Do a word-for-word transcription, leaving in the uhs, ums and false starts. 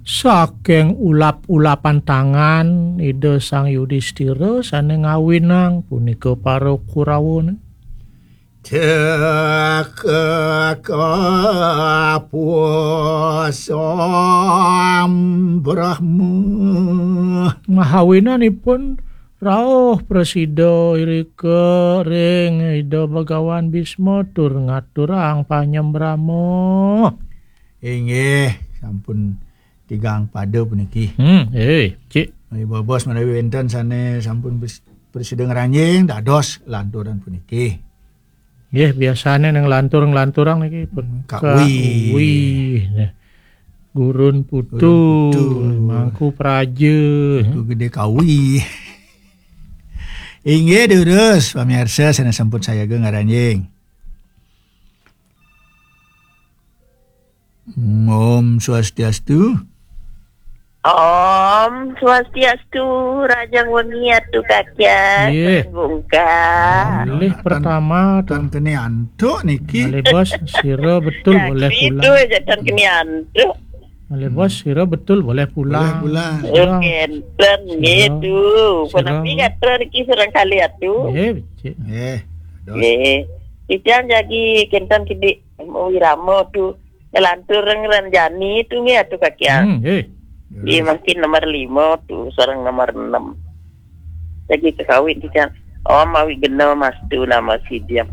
Saking ulap-ulapan tangan Ida Sang Yudistira sane ngawinang punika para Kurawane. Teka pusam Brahma. Ngawinanipun rauh prasida irika ring Ida Bhagawan Bisma tur ngaturang panyembrama. Inggih, sampun tigang pada puniki. Hmm, eh, cik. Menawi bobos menawi wenten sane sampun pres-, prasida ngranjing dados lanturan puniki. Nggih, biasane nang lantur-lanturang niki pun Kawi. Kawi. Nah. Gurun putu, Gurun putu. Mangku praja. Mangku gede kawi. Inggih, durus, pamirsa, sane sampun sayaga ngranjing. Om Swastiastu. Om Swastiastu, Rajang Wengi Atu Kakian. Nggih. Bungka. Malih pertama, tan kene antuk niki. Malih bos, sira betul boleh pulang. Itu aja tan kene antuk. Malih bos, sira betul boleh pulang. Boleh pulang. Sira, kenten gitu. Sira. Penapi kata niki serang kali atu. Nggih, becik. Nggih. Nggih. Titiang jagi kenten kidik wirama tu. Lantur ngranjani tu nggih atu kakian. Hmm, nggih. Nggih, mungkin nomor lima tu, sareng nomor enam. Lagi kakawin kita. Om Awighnam Astu Namo Sidham.